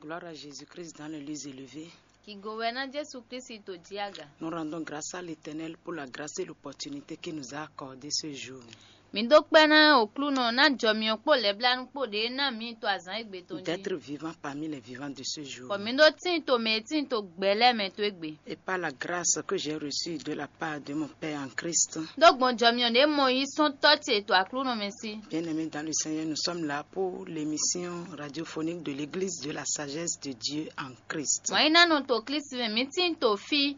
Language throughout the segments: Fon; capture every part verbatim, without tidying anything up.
Gloire à Jésus-Christ dans les lieux élevés. Kigo wɛ ná Jésù Kristi tó jí aga. Nous rendons grâce à l'Éternel pour la grâce et l'opportunité qu'il nous a accordée ce jour. Mi dó kpɛ́ ná Oklúnɔ ná jɔ mi ɔ́ kpó lɛ̌blánú kpó ɖě ná mi to azǎn égbé tɔn jí. D'être vivant parmi les vivants de ce jour. Bɔ mi dó tíin to mɛ e tíin to gbɛ̌ lɛ́ɛ mɛ tó égbé. Et par la grâce que j'ai reçue de la part de mon Père en Christ. Dó gbɔn jɔ mi ɔ́ ɖě mɔ yí sɔ́n tɔ́ ce to Aklúnɔ mɛ sí. Bien-aimés dans le Seigneur, nous sommes là pour l'émission radiophonique de l'Église de la sagesse de Dieu en Christ. Mɔ̌ nyí ná nɔ to Klísu mɛ, mǐ tíin to fí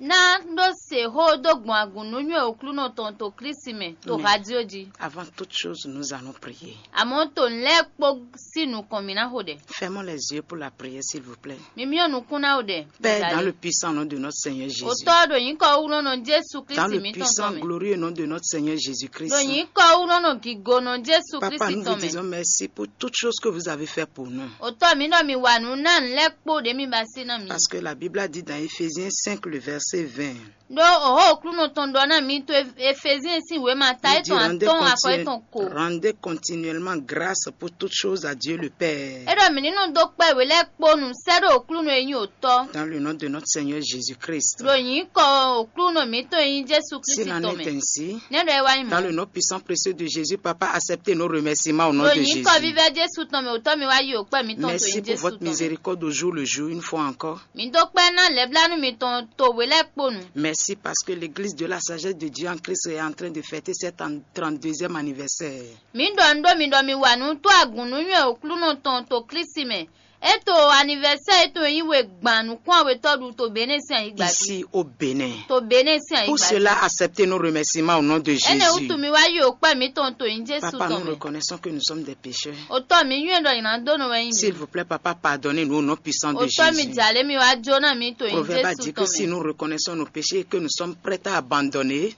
ná ɖó se xó dó gbɔn agun nǔnywɛ́ Oklúnɔ tɔn to Klísu mɛ to Mɛ. Radio jí. Avant toute chose, nous allons prier. Àmọ́ to nǔ lɛ́ɛ kpó sí nukɔn mǐ ná xo ɖɛ. Fermons les yeux pour la prière, s'il vous plaît. Mi myɔ nukún ná xo ɖɛ. Père, dans le puissant nom de notre Seigneur Jésus. Otɔ́ ɖo nyǐkɔ wúnɔ́nɔ Jésù Dans Klísu le mǐtɔn puissant, tɔn mɛ. Glorieux nom de notre Seigneur Jésus-Christ. Ɖo nyǐkɔ wúnɔ́nɔ gígonɔ Jésù Papa, Klísu nous vous tɔn mɛ. Disons merci pour toutes choses que vous avez fait pour nous. Otɔ́ mi ɖɔ mi wa nǔ ná nǔ lɛ́ɛ kpó ɖě mi ba sí ná mi. Parce que la Bible a dit dans Éphésiens cinq, le verset vingt. Ɖó òhó Oklúnɔ tɔn ɖɔ ná mi to Efezín sín wěma ta étɔn atɔ́ɔ́n afɔ étɔn ko. Rendez continuellement grâce pour toutes choses à Dieu le Père. É ɖɔ mǐ ní nɔ dó kpɛ́ wě lɛ́ɛ kpó nu sɛ́ ɖó Oklúnɔ e nyí òtɔ́. Dans le nom de notre Seigneur Jésus-Christ. Ɖo nyǐkɔ Oklúnɔ mǐtɔn e nyí Jésù Klísu tɔn mɛ. S'il en est ainsi, Nɛ́ ɖɔ é wá nyí mɔ̌. Dans le nom puissant précieux de Jésus, Papa, acceptez nos remerciements au nom de Jésus. Ɖo nyǐkɔ vívɛ́ Jésù tɔn mɛ òtɔ́ mi wá yi òkpɛ́ mǐtɔn to nyí Jésù tɔn mɛ. Merci pour votre miséricorde au jour le jour, une fois encore. Mi dó kpɛ́ ná lɛ̌blánú mitɔn to we lɛ́ɛ kpo nu. Merci parce que l'église de la sagesse de Dieu en Christ est en train de fêter cet trente-deuxième anniversaire. Mi ɖɔ un ɖó mi ɖɔ mi wa nǔ tó agun nǔnywɛ́ Oklúnɔ tɔn to Klísi mɛ. É to anivɛsɛ́ e tɔn e nyí we gban nǔkún awetɔ́ ɖu to Benɛ́ sín ayǐgba jí. Ici au Bénin. To Benɛ́ sín ayǐgba jí. Pour cela, acceptez nos remerciements au nom de Jésus. Énɛ́ wútu mi wá yi òkpɛ́ mǐtɔn to nyí Jésù tɔn mɛ. Papa, nous reconnaissons que nous sommes des pécheurs. Otɔ́ mi nywɛ́ ɖɔ nyina dó nɔ wɛ nyí mi. S'il vous plaît, Papa, pardonnez-nous au nom puissant de Jésus. Otɔ́ mi jalě mi wá jó ná mi to nyí Jésù tɔn mɛ. Proverbe a dit que si nous reconnaissons nos péchés et que nous sommes prêts à abandonner,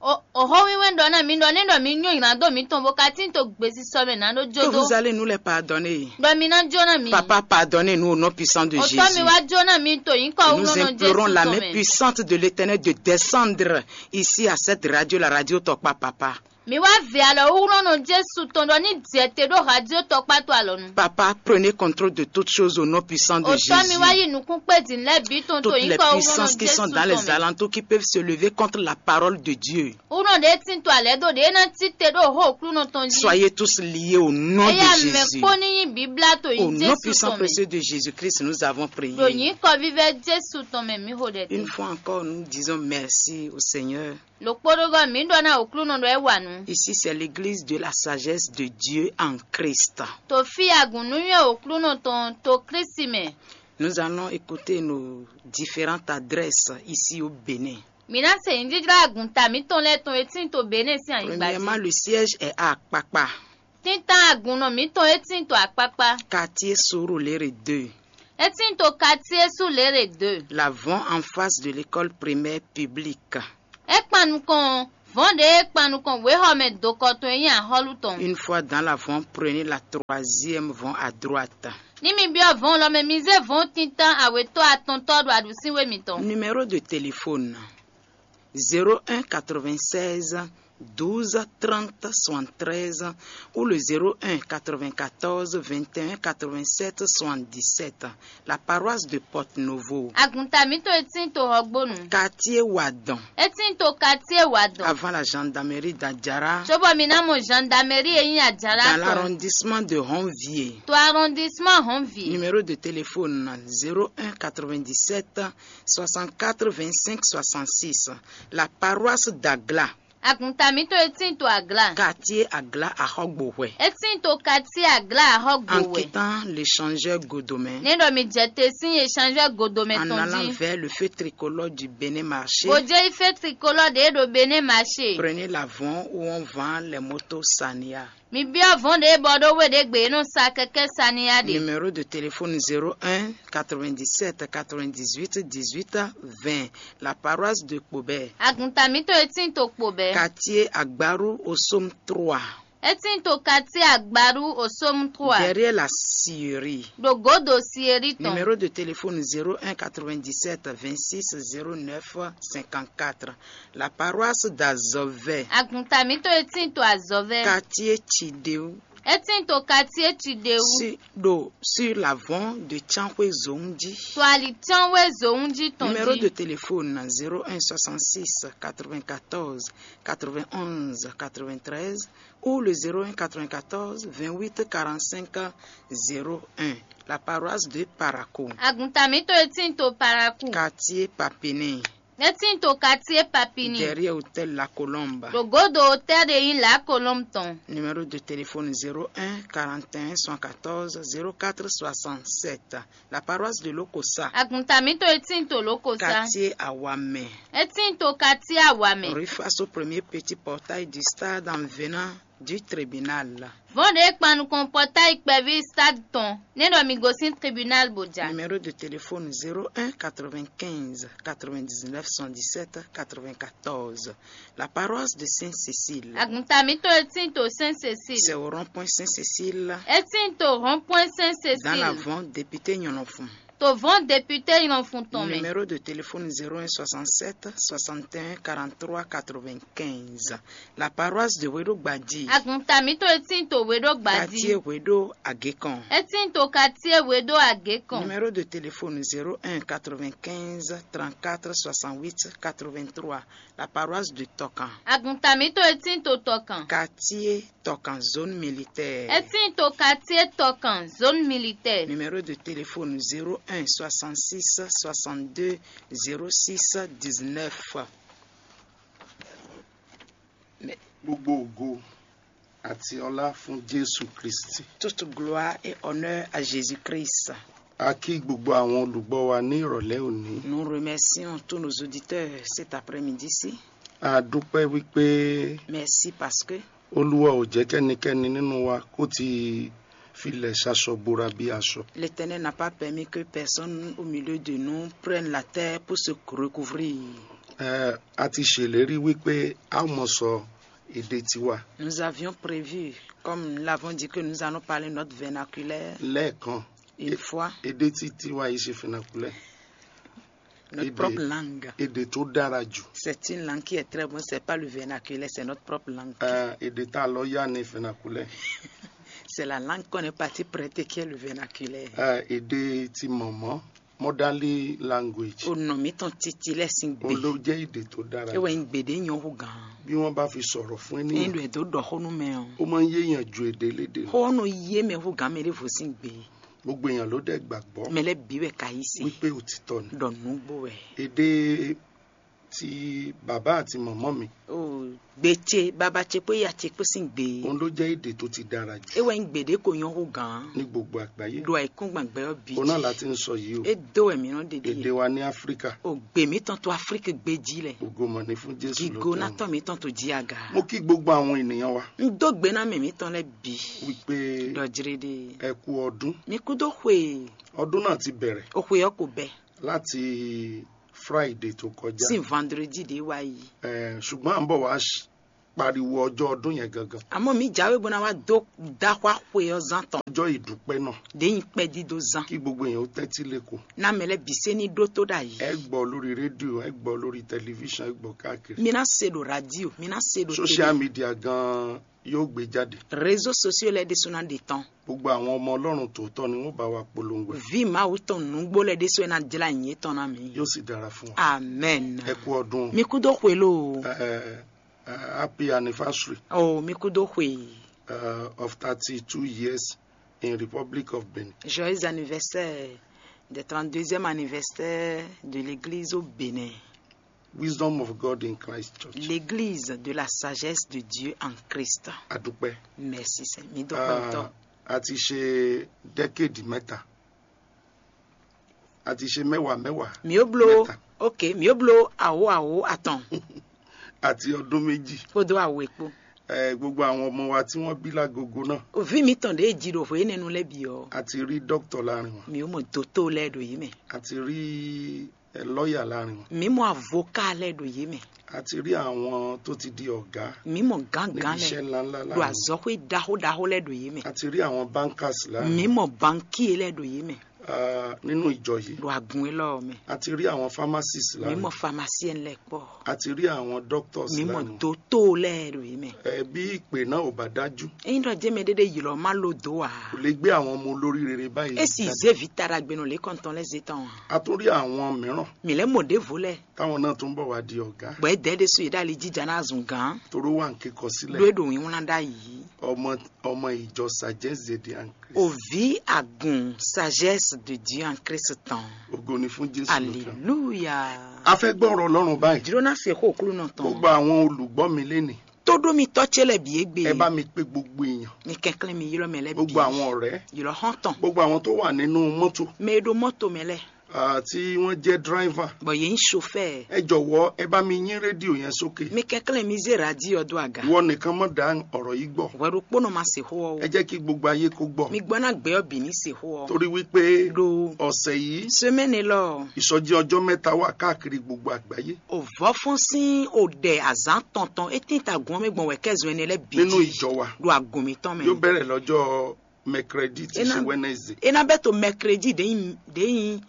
Òxó wínwɛ́n ɖɔ ná mi ɖɔ ní ɖɔ mi nyɔ́ nylá dó mǐtɔn bó ka tín to gbesisɔ mɛ ná ɖó jó dó. Que vous allez nous les pardonner. Ɖɔ mi ná jó ná mi. Papa, pardonnez-nous au nom puissant de Jésus. Òtɔ́ mi wá jó ná mi to nyǐkɔ wú nɔ́ Jésù tɔn mɛ. Nous implorons la main puissante de l'Éternel de descendre ici à cette radio, la radio Tɔkpa, Papa. Mi wá vɛ alɔ wú nɔ́ nɔ Jésù tɔn ɖɔ ní jɛ te ɖó radio Tɔkpa to alɔ nu. Papa, prenez contrôle de toutes choses au nom puissant de Jésus. Òtɔ́ mi wá yi nǔkún kpé din lɛ́ bǐ tɔn to nyǐkɔ wú nɔ́ nɔ Jésù tɔn mɛ. Toutes les puissances qui sont dans les alentours qui peuvent se lever contre la parole de Dieu. Wú nɔ ɖě tín to alɛ̌ dó ɖě ná cí te ɖó òxó Oklúnɔ tɔn jí. Soyez tous liés au nom de Jésus. Eya mɛ kpó ní nyí bǐblá to nyí Jésù tɔn mɛ. Au nom puissant précieux de Jésus-Christ, nous avons prié. Ɖo nyǐkɔ vívɛ́ Jésù tɔn mɛ mǐ xo ɖɛ te. Une fois encore, nous disons merci au Seigneur. Ɖokpóɖógɔ́ mǐ ɖɔ ná Oklúnɔ ɖɔ é wa nǔ. Ici, c'est l'église de la sagesse de Dieu en Christ. To fí agun nǔnywɛ́ Oklúnɔ tɔn to Klísi mɛ. Nous allons écouter nos différentes adresses ici au Bénin. Mǐ ná se nyǐjlɔ́jlɔ́ agun ta mǐtɔn lɛ́ɛ tɔn e tín to Benɛ́ sín anyigba jí. Premièrement, le siège est à Akpakpa. Títán agunnɔ mǐtɔn é tín to Akpakpa. Quartier Surulere deux. É tín to Quartier Surulere deux. La Von en face de l'école primaire publique. É kpan nukɔn vɔ̌n ɖě é kpan nukɔn wěxɔmɛ dokɔ tɔn e nyí axɔ́lú tɔn. Une fois dans la Von, prenez la troisième Von à droite. Ní mi byɔ́ vɔ̌n lɔ mɛ, mi zé vɔ̌n tintán awětɔ́ atɔntɔ́ ɖo aɖǔsínwé mitɔn. Numéro de téléphone: zéro un quatre-vingt-seize douze trente soixante-treize ou le zéro un quatre-vingt-quatorze vingt et un quatre-vingt-sept soixante-dix-sept. La paroisse de Porto Novo. Agunta mǐtɔn e tín to Hɔgbónu. Quartier Wadon. É tín to quartier Wadon. Avant la gendarmerie d'Adjara. Cóbɔ mi ná mɔ gendarmerie e nyí Adjara tɔn. Dans l'arrondissement de Honvier. To arrondissement Honvier. Numéro de téléphone zéro un quatre-vingt-dix-sept soixante-quatre vingt-cinq soixante-six. La paroisse d'Agla. Agunta mǐtɔn e tín to Agla. Quartier Agla Ahɔgbohwɛ. É tín to quartier Agla Ahɔgbohwɛ. En quittant l'échangeur Godomɛ. Né ɖɔ mi jɛ te sín échangeur Godomɛ tɔn jí. En allant vers le feu tricolore du Bénin Marché. Bó jẹ́ ife tricolore ɖě ɖo Benɛ́ Marché. Prenez l'avant où on vend les motos Sania. Mi byɔ́ vɔ̌n ɖě bɔ ɖó we ɖě gbe e nɔ sa kɛkɛ́ saniya ɖe. Numéro de téléphone zéro un quatre-vingt-dix-sept quatre-vingt-dix-huit dix-huit vingt. La paroisse de Kpobɛ. Agunta mǐtɔn e tín to Kpobɛ. Quartier Agbaru Osom trois. É tín to quartier Agbaru Osom trois. Derrière la scierie. Ɖo gǒdo sieri tɔn. Numéro de téléphone zéro un quatre-vingt-dix-sept vingt-six zéro neuf cinquante-quatre. La paroisse d'Azɔvɛ. Agunta mǐtɔn e tín to Azɔvɛ. Quartier Chideu. É tíin to quartier Tsidéwu. Si ɖo sur l'avant de Tsanxwé Zɔn jí. To ali Tsanxwé Zɔn jí tɔn jí. Numéro de téléphone zéro un soixante-six quatre-vingt-quatorze quatre-vingt-onze quatre-vingt-treize ou le zéro un quatre-vingt-quatorze vingt-huit quarante-cinq zéro un. La paroisse de Parakou. Agunta mǐtɔn e tíin to Parakou. Quartier Papiné. É tíin to quartier Papini. Derrière hôtel La Colombe. Ɖo godo hôtel ɖe nyí La Colombe tɔn. Numéro de téléphone zéro un quarante et un soixante-quatorze zéro quatre soixante-sept. La paroisse de Lokosa. Agunta mǐtɔn e tíin to Lokosa. Quartier Awamɛ. É tíin to quartier Awamɛ. Rue face au premier petit portail du stade en venant du tribunal. Vɔn ɖe kpan nukɔn pɔtayi kpɛví stade tɔn, nɛ́ ɖɔ mi gosín tribunal bó ja. Numéro de téléphone zéro un quatre-vingt-quinze quatre-vingt-dix-neuf soixante-dix-sept quatre-vingt-quatorze. La paroisse de Sainte-Cécile. Agunta mǐtɔn e tíin to Sainte-Cécile. C'est au rond-point Sainte-Cécile. É tíin to rond-point Sainte-Cécile. Dans l'avant député Nyɔnɔfun. To vɔn député Nyɔnɔfun tɔn mɛ. Numéro de téléphone zéro un soixante-sept soixante et un quarante-trois quatre-vingt-quinze. La paroisse de Wedo Gbadji. Agunta mǐtɔn e tíin to Wedo Gbadji. Quartier Wedo Agékan. É tíin to quartier Wedo Agékan. Numéro de téléphone zéro un quatre-vingt-quinze trente-quatre soixante-huit quatre-vingt-trois. La paroisse de Tokan. Agunta mǐtɔn e tíin to Tɔkan. Quartier Tokan, zone militaire. É tíin to quartier Tɔkan, zone militaire. Numéro de téléphone zéro un soixante-six soixante-deux zéro six dix-neuf. Gbogbo ògo àti ọlá fún Jésù Kristi. Toute gloire et honneur à Jésus-Christ. A kí gbogbo àwọn olùgbọ́ wa ní ìrọ̀lẹ́ òní. Nous remercions tous nos auditeurs cet après-midi-ci. A dúpẹ́ wípé Merci parce que Olúwa ò jẹ́ kẹ́nikẹ́ni nínú wa kó ti filẹ̀ ṣaṣọ bora bí aṣọ. L'Éternel n'a pas permis que personne au milieu de nous prenne la terre pour se recouvrir. Ẹ, a ti ṣèlérí wípé a ó mọ sọ èdè tiwa. Nous avions prévu, comme nous l'avons dit, que nous allons parler notre vernaculaire. Lẹ́ẹ̀kan, Une fois. Èdè tí tiwa yìí ṣe vernaculaire. Notre propre langue. Èdè tó dára jù. C'est une langue qui est très bonne, c'est pas le vernaculaire, c'est notre propre langue. Ẹ, èdè tá a lọ yá ni vernaculaire. C'est la langue qu'on est parti prêter qui est le vernaculaire. Ẹ, èdè ti mọ̀mọ́, motherly language. Onɔ mǐtɔn titi lɛ́ɛ sín gbe. Ó ló jẹ́ èdè tó dára. É wɛ nyí gbeɖé nyɔ hú gǎn. Bí wọ́n bá fi sọ̀rọ̀ fún Ẹni ènìyàn, ɖɔ ɛ dó ɖɔ xó nú mɛ ɔ́. Ó máa ń yé èèyàn ju èdè lédè lọ. Xó ɔ́ nɔ yé mɛ hú gǎn mɛ ɖěvo sín gbe. Gbogbo èèyàn ló dẹ̀ gbàgbọ́ Mɛ lɛ́ɛ bǐ wɛ ka yí se. Wípé òtítọ́ ni. Ɖɔ nǔgbó wɛ. Èdè ti bàbá àti màmá mi. O gbe ce, baba ce kpó ya ce kpó sín gbe. Òun ló jẹ́ èdè tó ti dára jù É wɛ nyí gbeɖé ko nyɔ hú gǎn. Ní gbogbo àgbáyé. Ɖo ayǐkúngban gbɛ ɔ́ bǐ Òun náà jí. La ti ń sọ yìí o. É dó wɛ mǐ nɔ ɖe Èdè ɖíe. Wa ní Áfíríkà. O gbe mǐtɔn to Aflíki gbé jí lɛ. Ògo mọ̀ ní fún Jésù Gigo lókè ná ọ̀run. Tɔn mǐtɔn to jí aga. Mo kí gbogbo àwọn ènìyàn wa N dó gbe ná mɛ mǐtɔn lɛ́ɛ bǐ. Wípé Ɖɔ jlé ɖe. Ẹ kú ọdún. Mi kú dó xwe. Ọdún náà ti bẹ̀rẹ̀. O xwe ɔ́ ko bɛ. Láti Friday tó kọjá. Sín vendredi ɖě wá yi. Ẹ, ṣùgbọ́n à ń bọ̀ wá ṣ- pariwo ọjọ́ ọdún yẹn gangan. Àmọ́ mi jáwé bó ná wá dó dáxwá xwe ɔ́ zán tɔn. Ọjọ́ ìdúpẹ́ náà. Ɖě nyi kpɛdídó zán. Kí gbogbo èèyàn ó tẹ́tí lẹ́kọ̀ọ́. Ná mɛ lẹ́ɛ bǐ sé ní ɖótó ɖ'ayǐ. Ẹ gbọ́ lórí rédíò, ẹ gbọ́ lórí tẹlifíṣàn, ẹ gbọ́ káàkiri. Mi ná se ɖo radio, mi ná se ɖo Social télé. Media gan yóò gbé jáde. Réseaux sociaux lɛ́ɛ ɖésú ná ɖe tɔn. Gbogbo àwọn ọmọ Ọlọ́run tòótọ́ ni wọ́n bá wa polongo ẹ̀. Vǐ Mawu tɔn nǔgbó lɛ́ɛ ɖésú ɛ ná jlá nyǐ tɔn ná mi. Yóò sì dára fún wa. Amen. Ẹ kú ọdún. Mi kú dó xwe ló. Ẹ, ẹ, happy anniversary. Oh, mi kú dó xwe. Uh, of thirty-two years in Republic of Benin. Joyeux anniversaire des trente-deuxième anniversaire de l'église au Bénin. Wisdom of God in Christ Church. L'église de la sagesse de Dieu en Christ. Adúpẹ́. Merci Seigneur. Mi dúpẹ́ Ah, tọ́. A ti ṣe decade mẹ́ta. A ti ṣe mẹ́wàá mẹ́wàá. Mi ó bló. Mẹ́ta. Ok, mi ó bló àwó àwó àtàn. Àti ọdún méjì. Kó dó àwó èpo. Ẹ, gbogbo àwọn ọmọ wa tí wọ́n bí lágogo náà. Òfin mi tàn dé jì ɖo hwé nínú lẹ́bi ọ́. A ti rí dókítà láàrin wọn. Mi ó mọ̀ dótó lẹ́ ɖo yìí mẹ́. A ti rí, ẹ, lọ́ọ̀yà láàrin wọn. Mi mọ̀ àvóká lẹ́ ɖo yìí mẹ́. A ti rí àwọn tó ti di ọ̀gá. Mi mọ̀ gángan níbi lẹ́ iṣẹ́ ńláńlá ɖo láàrin wọn. Àzɔxwé ɖaxó ɖaxó lẹ́ ɖo yìí mẹ́. A ti rí àwọn bankers láàrin Mi wọn. Mọ̀ bankíe lẹ́ ɖo yìí mẹ́. Ah, nínú ìjọ yìí, ɖo agun élɔ́ mɛ. A ti rí àwọn pharmacists Mi mɔ lánàá. Pharmacienne lɛ kpɔ. A ti rí àwọn doctors Mi mɔ lánàá. Doto lɛ ɖo yìí mɛ. Ẹ, bí ìpè náà ò bá dájú, Eyin ɖɔ jɛ mɛ ɖeɖe yilɔ ma lo do a. Kò lè gbé àwọn ọmọ olórí rere báyìí. Esi Jáde. Zé vi taɖagbenɔ lé kɔntɔn lɛ zé tɔn. A tún rí àwọn mìíràn Mi lɛ mɔ ɖevo lɛ. Táwọn náà tún bọ̀ wá di ọ̀gá. Bɔ e dɛ ɖe su yi ɖe ali jija na zun gan. Toró wà ń kíkọ Ɖo sílẹ̀. e ɖo wíwlán ɖa yi. Ọmọ ọmọ ìjọ Sagesse de Diancre. Ovi agun sagesse de Dieu en Christ tɔn. Ògo ni fún Jésù lókè. Aleluya. A fẹ́ gbọ́ ọ̀rọ̀ Ọlọ́run báyìí. Jiro na se xo kulu nɔ tɔn. Gbogbo àwọn olùgbọ́ mi lénìí, Todo mi tɔ ce lɛ bi egbe. Ẹ bá mi pé gbogbo èèyàn, Mi kɛnklɛn mi yilɔ mɛ lɛ bi. Gbogbo àwọn ọ̀rẹ́, Yilɔ hɔn tɔn. Gbogbo àwọn tó wà nínú mọ́tò, Mɛ e ɖo mɔto mɛ lɛ. Ah, tí wọ́n jẹ́ driver. Bɔ yɛn sofɛ. Ẹ jọ̀wọ́, ẹ bá mi yín rédíò yẹn sókè. Mi kɛnklɛn mi zé radio ɔ do aga. Ìwọ nìkan mọ̀ dá ọ̀rọ̀ yìí gbọ́. Wɛ ɖo kpónɔ ma se xo ɔ. Ẹ jẹ́ kí gbogbo ayé kó gbọ́. Mi gbɔ na gbɛ ɔ bi ní se xo ɔ. Torí wípé Ɖo ọ̀sẹ̀ yìí, semaine lɔ. Ìsọjí ọjọ́ mẹ́ta wà káàkiri gbogbo àgbáyé. O vɔ fún sín o ɖɛ azán tɔntɔn e tín ta gɔn mɛ gbɔn wɛ kɛzɔn ɛnɛ lɛ bi. Nínú ìjọ wa. Ɖo agun mi tɔn mɛ. Yóò bẹ̀rẹ̀ lọ́jọ́ mercredi tí í ṣe Wednesday. E na bɛ to mercredi de yin de yin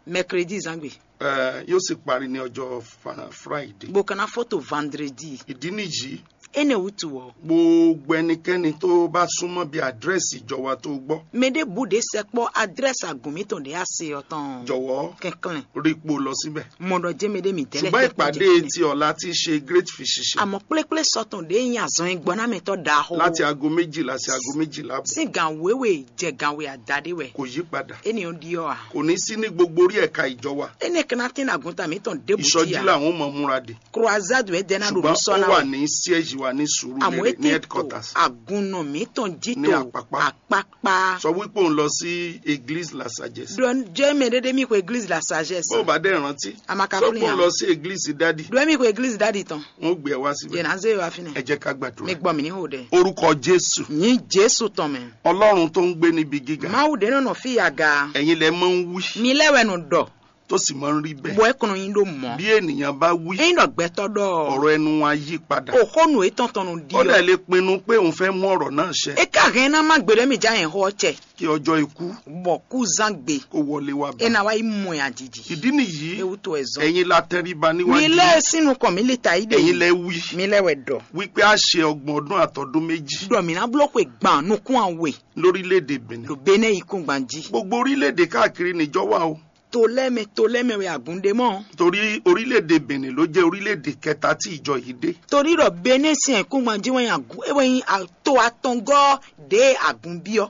mercredi zangbe. Ẹ, yóò sì parí ní ọjọ́ Friday. Bó kana fó to vendredi. Ìdí nìyí. Ene wutu wɔ. Gbogbo ẹnikẹ́ni tó bá súnmọ́ bí àdírẹ́sì ìjọ wa tó gbọ́. Mɛ ɖe bu ɖe sɛ kpɔ adrɛsi agun mi tɔn ɖe ase ɔ tɔn. Jọ̀wọ́. Kɛnklɛn. Rí ipò lọ síbẹ̀. Mɔ ɖɔ jɛmɛ ɖe mi tɛlɛ. Ṣùgbọ́n ìpàdé ti ọ̀la ti ṣe great physician. Àmọ́ kplékplé sɔtɔn ɖe yin azɔn gbɔnámɛtɔ ɖaxo. Láti aago méjìlá sí aago méjìlá àbọ̀. Sín gan wéwé jɛ gan wé àdáde wɛ. Kò yí padà. Eni ɔ ɖi ɔ a. Kò ní sí ní gbogbo orí ẹ̀ka ìjọ wa. Ene kana tɛn agunta mi tɔn ɖe bu. Ìsọjí làwọn ọmọ múra dè. Croisade wɛ dɛ na ɖo. Ṣùgbọ́n ó wà ní siège wa ní sùúrù. Àmọ́ ní ètò headquarters. Agunnɔ mi tɔn jí ní tó àpápá. Àpápá. Sọ wípé òun lọ sí église la sagesse. Ɖɔ jɛ mɛ ɖeɖe mi ko église la sagesse. Bó o bá dẹ̀ rántí, àmọ́ ká sọ pé òun lọ sí église dádì. Ɖɔ mi ko église dádì tɔn. Wọ́n gbé ẹ wá síbẹ̀. Yẹn náà zéyọ àfinɛ. Ẹ jẹ́ ká gbàdúrà. Mi gbọ́ mi ní o dɛ. Orúkọ Jésù. Ní Jésù tɔn mɛ. Ọlọ́run tó ń gbé níbi gíga. Máwù dé nɔnɔ fi ya ga. Ẹ̀yin lẹ máa ń wí. Mi lɛ wɛ nù dɔ. Tó sì máa ń rí bẹ́ẹ̀. Bɔ ẹ kɔnɔ yin ɖo mɔ. Bí ènìyàn bá wí. Eyin dɔ gbɛtɔ dɔ. Ọ̀rọ̀ ẹnu wa yí padà. Òkónù etɔn tɔn nù di. Ó dẹ̀ lè pinnu pé òun fẹ́ mú ọ̀rọ̀ náà ṣẹ. E ka hɛn na ma gbèrè mi ja yẹn xɔ cɛ. Kí ọjọ́ ikú. Bɔ kú zan gbé. Kó wọlé wá bá. E na wa yi mɔ ya jiji. Ìdí nìyí. Ewu tó ẹ zɔn. Ẹ̀yin la tẹríba níwájú. Mi lɛ sínú kàn mi lè ta yí de. Ẹ̀yin lẹ wí. Mi lẹ wɛ dɔ. Wípé a ṣe ọgbọ̀n ọdún àtọdún méjì. Dɔ mi na blɔ xwe gban nukun awe. Lórílẹ̀-èdè Benin. Lo Benin yìí kún gban jí. Gbogbo orílẹ̀-èdè káàkiri níjọ wà o. To lɛ mɛ to lɛ mɛ wɛ agunde mɔ. Torí orílẹ̀-èdè Benin ló jẹ́ orílẹ̀-èdè kẹta tí ìjọ yìí dé. Torí ɖɔ Benin sin ɛkúngban jí wɛn agun ewɛ yin to atɔngɔ ɖe agun biɔ.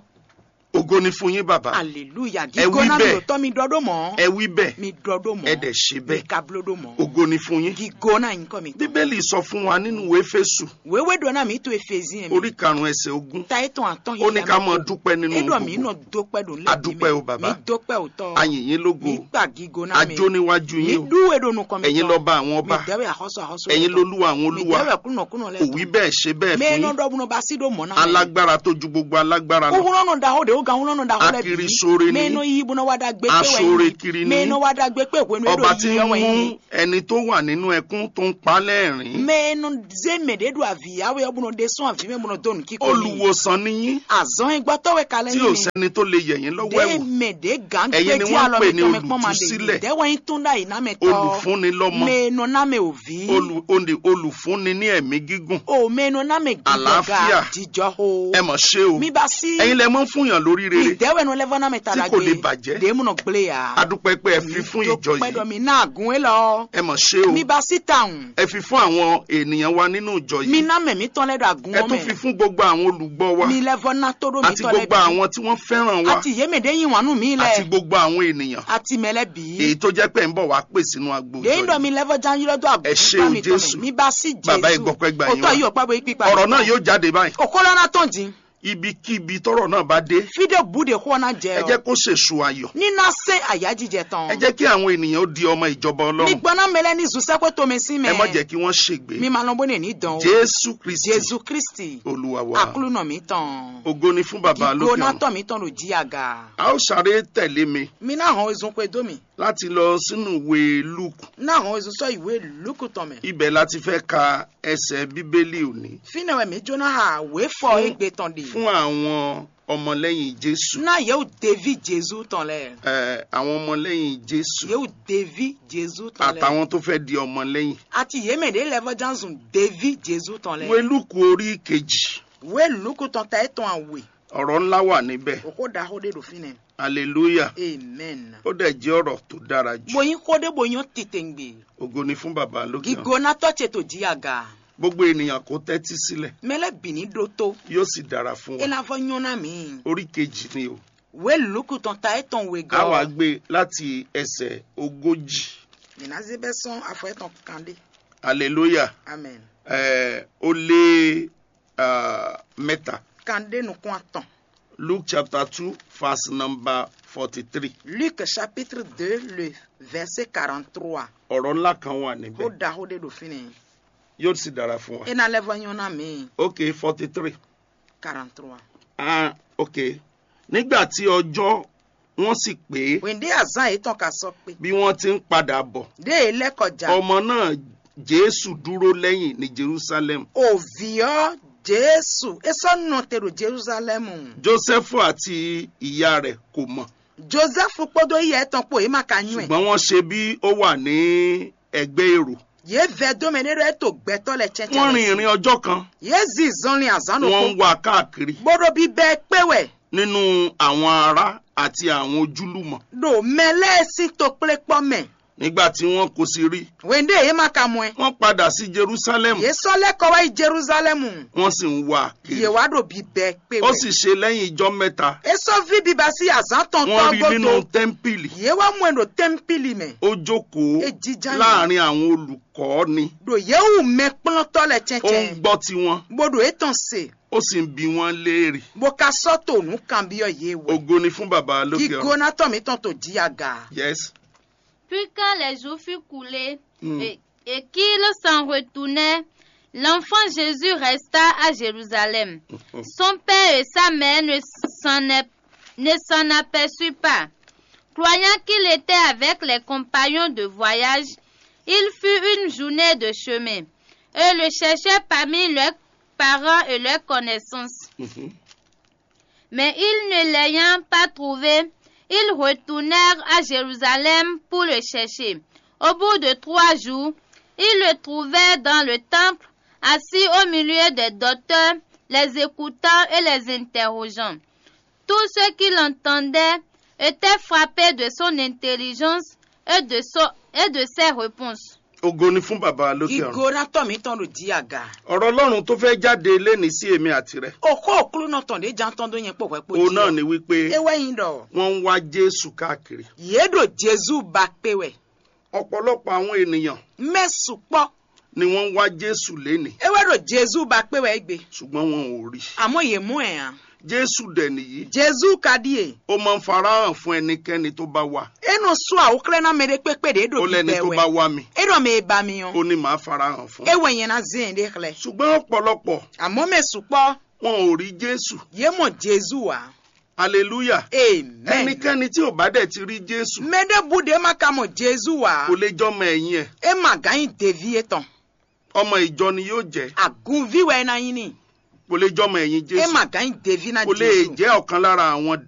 Ògo ni fún yín bàbá. Aleluya. Ẹ wí gigo na mi bẹ́ẹ̀. Lòótọ́ mi ɖɔ ɖó mọ́. Ẹ wí bẹ́ẹ̀. Mi ɖɔ ɖó mọ́. Ẹ dẹ̀ ṣe bẹ́ẹ̀. Mi ka bló ɖó mọ́. Ògo ni fún yín. Gigo na yín kọ́ mi tọ́. Bíbélì sọ fún wa nínú Éfésù. Wéwé ɖɔ na mi to Efezin. Orí karùn-ún ẹsẹ̀ ogún. Ta etɔn atɔn. Ó ní ká máa dúpẹ́ nínú gbogbo. Edɔ mi nɔ dópẹ́ ɖo lé. A dúpẹ́ o bàbá. Mi dópẹ́ o tɔ. A yìn yín lógo. Mi gbà gigo na mi. A jó níwájú yín o. Mi ɖú eɖo nukɔn mi. Ẹ̀yin lọ́ba àwọn ọba. Mi dɛwɛ àkọ́sọ àkọ́sọ. Ẹ̀yin lolúwa àwọn olúwa. Mi dɛwɛ kúnlọ kúnlọ lɛ. Ò wí bẹ́ẹ̀ ṣe bẹ́ẹ̀ fún yín. Mɛ nɔ dɔ bunɔ ba si ɖo mɔ na. Alágbára tó ju gbogbo alágbára lɔ. Owurɔ nɔ da o de o gan wulɔ nɔ da o lɛ bi. Akiri sóore ni. Mɛ nɔ yi bunɔ wa da gbe pe wɛ. Asóore kiri ni. Mɛ nɔ wa da gbe pe hwenu. Ọba tí ń mú ẹni tó wà nínú ẹkún tó ń pa lẹ́rìn. Mɛ nɔ ze mɛ de do avi yawe ɔbunɔ de sɔn avi mɛ bunɔ do nu kíkó. Olùwòsàn ni yín. Azɔn gbɔtɔ wɛ kalẹ ni. Tí o sẹni tó lè yẹ yín lọ́wọ́ ẹ wò. Mɛ de gan gbé tí alɔ mi tɔmɛ kpɔn ma de. Ẹ̀yin ni wọ́n pè ní olùtúsílẹ̀. Dɛ wɛ yin tún da yi na mɛ tɔ. Olùfúnnilọ́mọ. Mɛ nɔ na mɛ o vi. Olù- olè- olùfúnni ní ẹ̀mí gígùn. O mɛ nɔ na mɛ. Àlàáfíà. Jijɔ ho. Ẹ mọ̀ ṣe o. Mi ba si. Ẹ̀yin lẹ mọ́ fún yàn lórí rere. Mi dɛ wɛ nɔ lɛ vɔ na mɛ ta. Tí kò lè bàjẹ́. De munɔ gble ya. Adúpẹ́ pé ẹ fi fún ìjọ yìí. Dɔ mi na agun e lɔ. Ẹ mọ̀ ṣe o. Mi ba si taun. Ẹ fi fún àwọn ènìyàn wa nínú ìjọ yìí. Mi na mɛ mi tɔn lɛ do agun. Ẹ tún fi fún gbogbo àwọn olùgbọ́ wa. Mi lɛ vɔ na tó do mi tɔn lɛ. Àti gbogbo àwọn tí wọ́n fẹ́ràn wa. Àti yémèdè yín wà nù mí lɛ. Àti gbogbo àwọn ènìyàn. Àti mɛ lɛ bí. Èyí tó jẹ́ pé ẹ ń bọ̀ wá pè sínú agbo ìjọ yìí. Dèyí dɔ mi lɛ vɔ janyi lɔ do agun. Ẹ ṣé o Jésù. Mi ba si Jésù. Bàbá, ẹ gbọ́pẹ́ gbà yín wá. Òtọ́ yìí ọ̀pá bo yín pípa. Ọ̀rọ̀ náà yóò jáde báyìí. Òkó lọ́nà tán dín. Ibikíbi tọ́rọ̀ náà bá dé. Fide bu de xɔ na jɛ. Ẹ jẹ́ kó ṣèṣù ayọ̀. Ní na se àyájíjẹ tán. Ẹ jẹ́ kí àwọn ènìyàn ó di ọmọ ìjọba Ọlọ́run. Mi gbọ́ná mẹlẹ́ ní zusẹ́kó tó mi sí mẹ́. Ẹ má jẹ́ kí wọ́n ṣègbé. Mi ma lọ bó ní ní dán o. Jésù Kristi. Jésù Kristi. Olúwa wa. Aklúnà mi tán. Ògo ni fún Bàbá lókè ọ̀run. Ìgbóná tọ̀ mi tán ló jí àga. A ó sáré tẹ̀lé mi. Mi náà hàn ezun pé dó mi. láti lọ sínú ìwé Lúùkù. Ná hɔn ezun sɔ́ ìwé Lúkù tɔn mɛ. Ibẹ̀ láti fẹ́ ka ẹsẹ̀ Bíbélì òní Fínɛ́ wɛ mǐ jó ná ha wěfɔ égbé tɔn ɖe. Fún àwọn ọmọlẹ́yìn Jésù. Ná yěwú deví Jezú tɔn lɛ. Ẹ, àwọn ọmọlẹ́yìn Jésù. Yěwú deví Jezú tɔn lɛ. Àtàwọn tó fẹ́ di ọmọlẹ́yìn. Àti yě mɛ ɖě lɛ vɔ ján zun deví Jezú tɔn lɛ. Ìwé Lúùkù orí kejì. Wé Lúkù tɔn ta étɔn àwè. Ọ̀rọ̀ ńlá wà níbẹ̀. Òkó ɖaxó ɖé ɖo fínɛ́. Hallelujah. Amen. Ó dẹ̀ jẹ́ ọ̀rọ̀ tó dára jù. Bó nyí xó ɖé bó nyɔ́ titengbe. Ògo ni fún bàbá lókè ọ̀run. Gígónátɔ́ ce tó jí aga. Gbogbo ènìyàn kó tẹ́tí sílẹ̀. Mɛ lɛ́ bǐ ní ɖótó. Yóò sì dára fún É wa. ná vɔ nyɔ́ ná mǐ. Orí kejì ni o. Wé Lúkù tɔn ta étɔn wegɔ́. A wá gbé láti ẹsẹ̀ ogójì. Mǐ ná zé bɛ́ sɔ́n afɔ étɔn kan ɖé. Hallelujah. Amen. Ẹ, ó lé ah, mẹ́ta. Kan ɖé nukún atɔn. Luke chapter two, verse number forty-three. Luc chapitre deux, le verset quarante-trois. Ọ̀rọ̀ ńlá kan wà Xó níbẹ̀. Ɖaxó ɖé ɖo fínɛ́. Yóò sì dára fún wa. É ná lɛ́ vɔ nyɔ́ ná mǐ. Ok, forty-three. Quarante-trois. Ah, ok. Nígbà tí ọjọ́ wọn sì pé, Wěndé azán yětɔn ka sɔ́ kpé. Bí wọ́n ti ń padà bọ̀, Ɖé e lɛ́ kɔ ja. Ọmọ náà Jésù dúró lẹ́yìn ní Jerusalem. Òvǐ ɔ́ Jésù é sɔ́ nɔ te ɖo Jerúsalɛ́mu. Jósẹ́fù àti ìyá rẹ̀ kò mọ̀. Jozɛ́fu kpódó yɛ étɔn kpó yě ma ka nywɛ́. Ṣùgbọ́n wọ́n ṣe bí ó wà ní ẹgbẹ́ èrò. Yě vɛ dó mɛ ɖé ɖɔ é to gbɛtɔ́ lɛ Wọ́n rin cɛ́cɛ́. Ìrìn ọjọ́ kan, Yě zin zɔnlin azǎn wọ́n ɖokpó. Ń wá káàkiri. Bó ɖo bíbɛ́ kpé wɛ. Nínú àwọn ará àti àwọn ojúlùmọ̀. Ɖo mɛ lɛ́ɛ sín tokplékpɔ́ mɛ. Nígbà tí wọn kò sì rí, Wěndé yě ma ka mɔ ɛ. Wọ́n padà sí Jerusalem. Yě sɔ́ lɛ́ kɔ wá yi Jerúsalɛ́mu. Wọ́n sì ń wá a kiri. Yě wá ɖo bíbɛ́ kpé Ó wɛ. Sì ṣe lẹ́yìn ijọ́ mẹ́ta, É sɔ́ ví biba sí azǎn tɔn Wọ́n tɔ́ rí i nínú gúdo. Tẹ́ḿpìlì. Yě wá mɔ ɛ ɖo tɛ́mpìlì mɛ. Ó jókòó É jíjá yìí. Láàrin àwọn olùkọ́ ni. Ɖo yě wu mɛkplɔ́ntɔ́ lɛ Ó ń cɛ́cɛ́. Gbọ́ tiwọn. Bó ɖo étɔn se. Ó sì ń bi wọ́n léèrè. Bó ka sɔ́ to nǔ kanbyɔ́ yě wɛ. Ògo ni fún bàbá lókè ọ̀run. Gígónátɔ́ mǐtɔn to jí aga. Yes. Puis quand les jours furent coulés Mm. et, et qu'ils s'en retournèrent, l'enfant Jésus resta à Jérusalem. Son père et sa mère ne s'en, ne s'en aperçurent pas. Croyant qu'il était avec les compagnons de voyage, il fut une journée de chemin et le cherchèrent parmi leurs parents et leurs connaissances. Mhm. Mais ils ne l'ayant pas trouvé, ils retournèrent à Jérusalem pour le chercher. Au bout de trois jours, ils le trouvèrent dans le temple, assis au milieu des docteurs, les écoutant et les interrogeant. Tous ceux qui l'entendaient étaient frappés de son intelligence et de, son, et de ses réponses. Ògo ni fún bàbá lókè ọ̀run. Gígónátɔ́ mǐtɔn ɖo jí aga. Ọ̀rọ̀ Ọlọ́run tó fẹ́ jáde léni sí èmi àti rẹ. Òxó òklúnɔ tɔn ɖě ján tɔn dó nyɛ kpó hwɛ kpó Òun jí náà ɔ́. ni wípé É wɛ nyí ɖɔ. Wọ́n ń wá Jésù káàkiri. Yě ɖo Jezú ba kpé wɛ. Ọ̀pọ̀lọpọ̀ àwọn ènìyàn Mɛ sukpɔ́. Ni wọ́n ń wá Jésù léni. É wɛ ɖo Jezú ba kpé wɛ é gbe. Ṣùgbọ́n wọn ò rí. Àmọ́ yě mú ɛ hàn. Jésù dẹ̀ nìyí. Jezú ka ɖíe. Ó máa ń farahàn fún ẹnikẹ́ni tó bá wà. É nɔ sú awuxlɛ́ ná mɛ ɖé kpékpé ɖě ɖo Ó lẹ́ni bíbɛ tó wɛ. bá wá mi. É ɖɔ mɛ e ba mi ɔ́. Ó ní màá farahàn fún. É wɛ nyɛ ná zé yɛn ɖé xlɛ́. Ṣùgbọ́n ọ̀pọ̀lọpọ̀ Àmọ́ mɛ sukpɔ́. Wọn ò rí Jésù. Yě mɔ Jezú ǎ. Hallelujah. Amen. Ẹnikẹ́ni tí ò bá dẹ̀ ti rí Jésù. Mɛ ɖé bu ɖě ma ka mɔ Jezú ǎ. Kò lè jọmọ ẹ̀yìn ẹ̀. É ma gán nyí deví étɔn. Ọmọ ìjọ ni yóò jẹ́. Àgúnví wɛ é ná nyí n'i. Kò lè jọmọ ẹ̀yìn É Jésù. ma gán nyí deví ná Kò lè Jezú. Jẹ́ ọ̀kan lára àwọn